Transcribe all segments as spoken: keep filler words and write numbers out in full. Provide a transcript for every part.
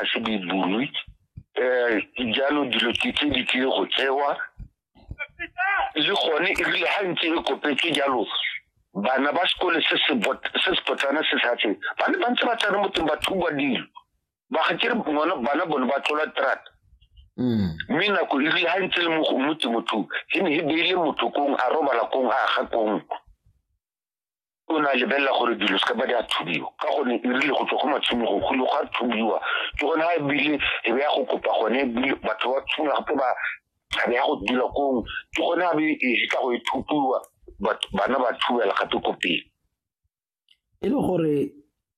ga se di bulwe. Um jalo dilo ke tse di tlile go tsewa le gone e rile ga ntse e kopetswe jalo, bana ba sekole se se se potlana se sa tse ba ne ba ntse ba tsena mo teng ba thuba dilo, ba ga kere ngwana bana bone ba tlola terata. Mme nako e rile ga ntse le mo mo temothuo e ne e beile motho kong a robala kong a aga kong, o ne a lebelela gore dilo se ka ba di a thubiwa, ka gonne e rile go tswa go matshimogong go ile go a thubiwa. Ke gone ga ebile e be ya go kopa gone ebile batho ba tshwana gape ba a be ya go dula kong, ke gone a be e tla go e thupiwa, bana ba thubela gape ko pele. E le gore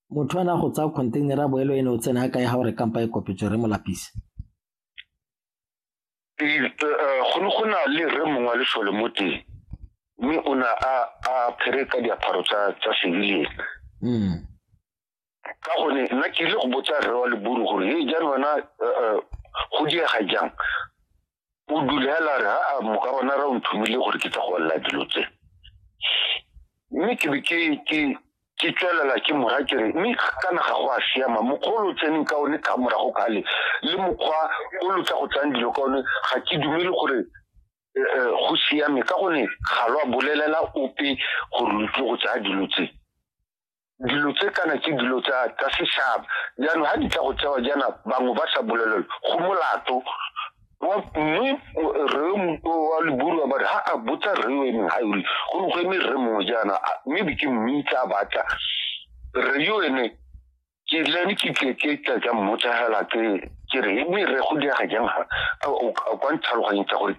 motho a na go tsaya container a boelo ene o tsena kae ga gore kampa e kopetswe re Molapisi? Go ne go na le rre mongwe wa lesole mo teng, mme o ne a a apere ka diaparo tsa tsa civilian. Ka gonne nna ke ile go botsa rre wa leburu gore e jaanong wena go diega jang, o dule hela re a moka bona ra o nthomile gore ke tla go lla dilo tse. Mme ke be ke ke ke tswelela ke mora ke re mme kana ga go a siama mokgwa o lo tseneng ka one ka morago kale le mokgwa o lo tla go tsayang dilo ka one, ga ke dumele gore go siame, ka gonne ga lo a bolelela ope gore lo tlile go tsaya dilo tse. Dilo tse kana ke dilo tsa tsa setšhaba, jaanong ga di tla go tsewa jaana bangwe ba sa bolelelwe go molato. Mme rre wa leburu ba re ha a botsa rre o emeng ga ore go ne go eme rre mongwe jaana, mme be ke mmitsa a batla rre yo ene ke le ene ke tle ke tla ka mmotsa hela ke ke re mme rre go diega jang ga o kwa ntlhaloganyetsa gore